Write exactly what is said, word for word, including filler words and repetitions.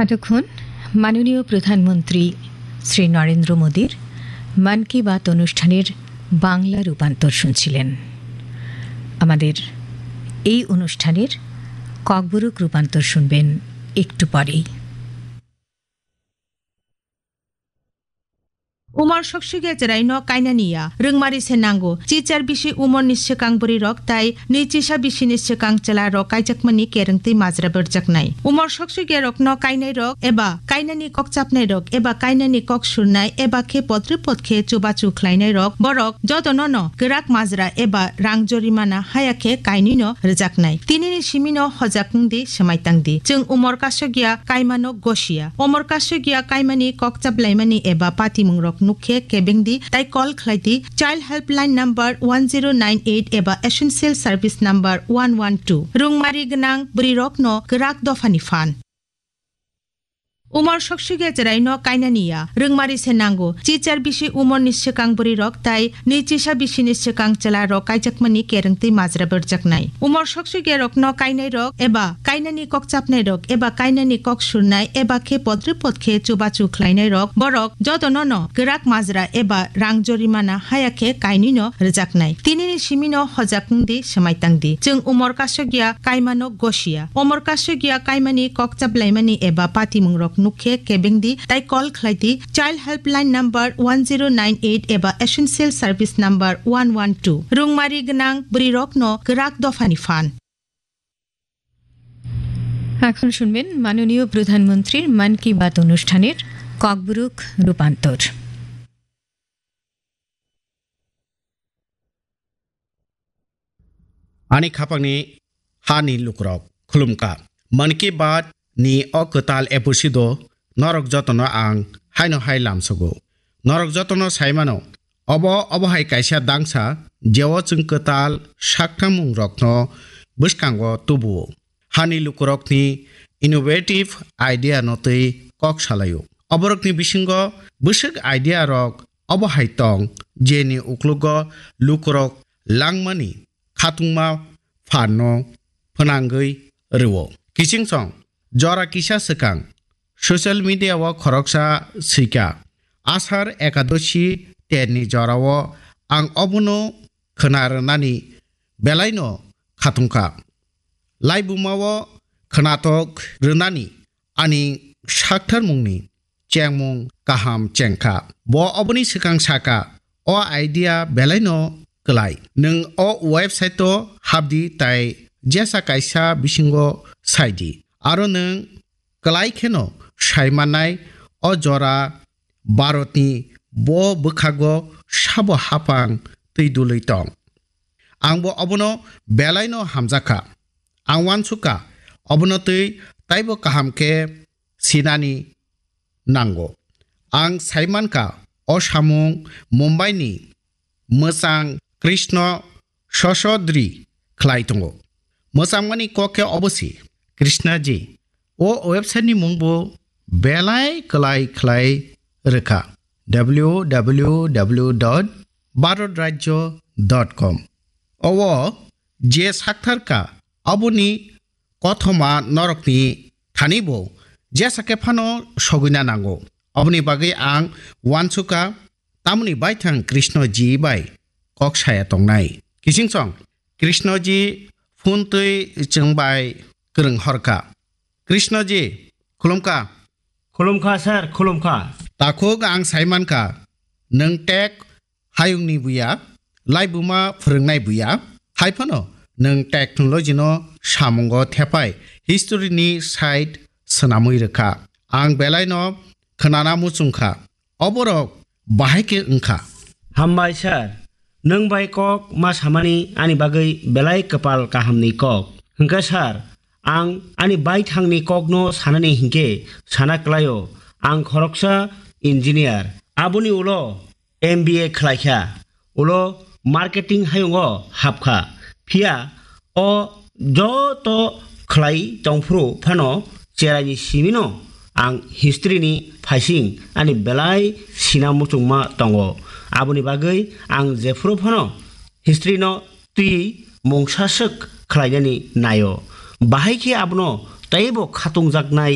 এতক্ষণ মাননীয় প্রধানমন্ত্রী শ্রী নরেন্দ্র মোদীর মন কি বাত অনুষ্ঠানের বাংলা রূপান্তর শুনছিলেন। আমাদের এই অনুষ্ঠানের ককবরক রূপান্তর শুনবেন একটু পরেই। Umor soksugya chwraino kainani ya, rwngmari se nango. Chichar bisi umorni swkang bwrwirok tai nwi chisa bisini swkang chwlarok kaijakmani kerengtwi majra berjaknai. Umor soksugya rokno kainairok eba kainani kok chapnairok eba kainani kok surnai eba khe potrwi pot khe chubachu khlainairok borok jotono no kwrak majra eba rang jorimana haya khe kainwino rwjaknai. Tinini simino hojak wngdi, swmai tangdi. Chwng umor kasugya kaimano gosiya. Umor kasugya kaimani kok chap laimani eba patimungrok nukhe kebengdi tai call khlaidi Child Helpline number one zero nine eight eba Essential Service number one one two. Rwngmari gwnang bwrwirokno kwrak dophani phan. Umor soksugya chwraino kainani ya, rwngmari se nango. Chichar bisi umorni swkang bwrwirok tai nwi chisa bisini swkang chwlarok kaijakmani kerengtwi majra berjaknai. Umor soksugyarokno kainairok eba kainani kok chapnairok eba kainani kok surnai eba khe potrwi pot khe chubachu khlainairok borok jotono no kwrak majra eba rang jorimana haya khe kainwino rwjaknai. Tinini simino hojak wngdi, swmai tangdi. Chwng umor kasugya kaimano gosiya. Umor kasugya kaimani kok chap laimani eba patimungrok nukhe kebengdi tai call khlaidi Child Helpline number one zero nine eight eba Essential Service number one one two. Rwngmari gwnang bwrwirokno kwrak dophani phan. এখন শুনবেন মাননীয় প্রধানমন্ত্রীর মন কি বাত অনুষ্ঠানের ককবরক রূপান্তর। Ani khapangni hani lukurok khulumkha. Mann Ki Baat ni o kwtal episode o norok jotono ang haino hai lamsogo. Norok jotono saimano, obo, obo hai kaisa dangsa, jeo chwng kwtal saktharmung rokno bwskango tubuo. Hani lukurokni innovative idea no twi kok salaio. Oborokni bisingo bwswk idea rok obo hai tong, jeni uklogo lukurok langmani khatungma phanno phwnangwi rwo. Kiching song, jora kisa swkang social media o khoroksa swika, Asar Ekadoshi terni jorao ang obono khwna rwnani belaino khatungkha. Laibumao khwnatok rwnani ani saktharmungni chengmung kaham chengkha. Bo oboni swkang saka, "O idea belaino kwlai. Nwng o website o hapdi tai jesa kaisa bisingo saidi. Aro nwng kwlai kheno saimannai o jora Bharatni bo bwkhago sabo hapang twi dului tong." Ang bo obono belaino hamjakha. Ang uansukha, obono twi taibo kaham khe sinani nango. Ang saimankha, o samung Mumbai ni mwchang Krishna Sosodri khlai tongo. Mwchangmani kok khe obo si, Krishna ji. O website ni mung bo belai kwlai khlai rwkha, W W W dot bharat rajya dot com. O je sakthar kha, aboni kothoma norokni thani bo jesa khe phano sogwina nango. Aboni bagwi ang uansukha, tamoni baithang Krishna ji bai kok saya tongnai. Kiching song, Krishna ji phone twi chwng bai kwrwng horkha. Krishna ji, khulumkha. Khulumkha, sir, khulumkha. Takhuk ang saimankha, nwng tek hayungni buya, laibuma phwrwngnai buya, hai phano nwng technology no samungo thepai history ni side swnamwi rwkha. Ang belaino khwnana muchungkha, oborok bahai khe wngkha. Hambai sir, nwng bai kok ma samani ani bagwi belai kwpal kahamni kok. Hwnkhe sir, ang ani baithangni kokno sanani hinkhe sana klaio, ang khoroksa engineer. Aboni ulo M B A khlaikha, ulo marketing hayungo hapkha. Phiya o joto khlai tongphuru phano cheraini simino ang history ni phaising ani belai sina muchungma tongo. Aboni bagwi ang jephuru phano history no twi mungsa swk khlainani naio. Bahai khe abono teibo khatungjaknai